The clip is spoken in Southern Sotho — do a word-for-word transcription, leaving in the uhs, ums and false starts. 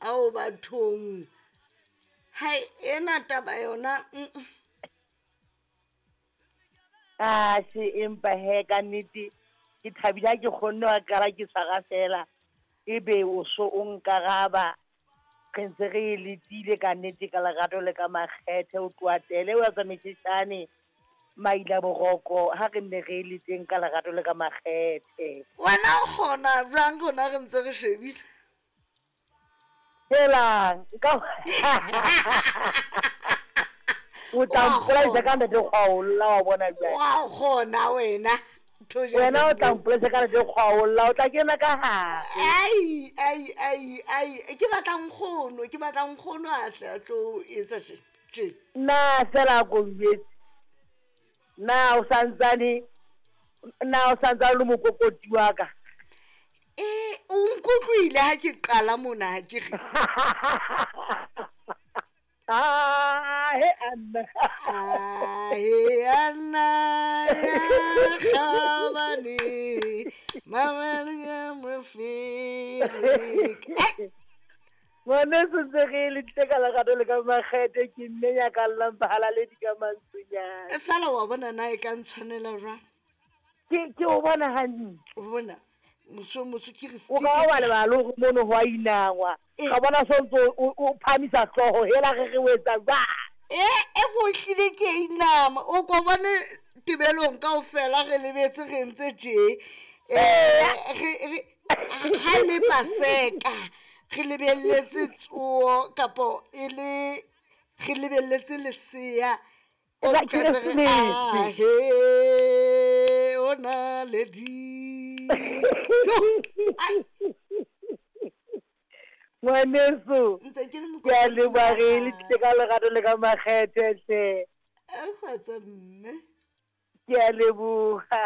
Ao bathong, hai ena taba yona mm. Atjhe, empa he ka nnete ke thabile ha ke kgonne wa qala ke tshwara fela, ebe o so o nkaraba. Re ntse re e letile ka nnete ka lerato le ka makgethe, o tloha tele wa tsamaisane maila boroko ha re nne re e leteng ka lerato le ka makgethe. Wena o kgona jwang rona re ntse re shebile? Helang, nka o tla mpolaisa ka ntate kgwaolla wa bona jwale. Wa kgona wena. Wena o tla mpolaisa ka ntate kgwaolla, o tla kena ka hare. Ai ai ai ai, ke batla nkgono, ke batla nkgono a tle a tlo etsa tje. Nna fela ko jwetse. Na o santsane, na o santsane le mokokoti wa ka? Eh, o nkutlwile ha ke qala mona ha ke re. Ah, he Anna. Ah, he Anna ya khabane. Mama ya mofere. Ngwaneso ntse re le tle ka lerato le ka makgethe, ke nne ya ka llang bahalaledi ka mantswenyana. E fela wa bona na e ka ntshwanela jwang? Ke ke o bona hantle. O bona moso moso ke re O ka wa lebala le hore mono ho a inangwa. Ka bona so ntso o o phamisa hlooho hela re re o etsa jwang? E e go hlile ke inama, o ko bone tebelong kaofela re lebetse re ntse tje. Eh re re ha le paseka re lebelletse tsoho kapo e le re lebelletse lesea. O La tla re, Keresemese. Ah, he, o na le di. Ai. Ngwaneso, Ntse ke le ke a leboha re le mokoti. tlile ka lerato le ka makgethe hle. A kgotsa mme. Ke a leboha.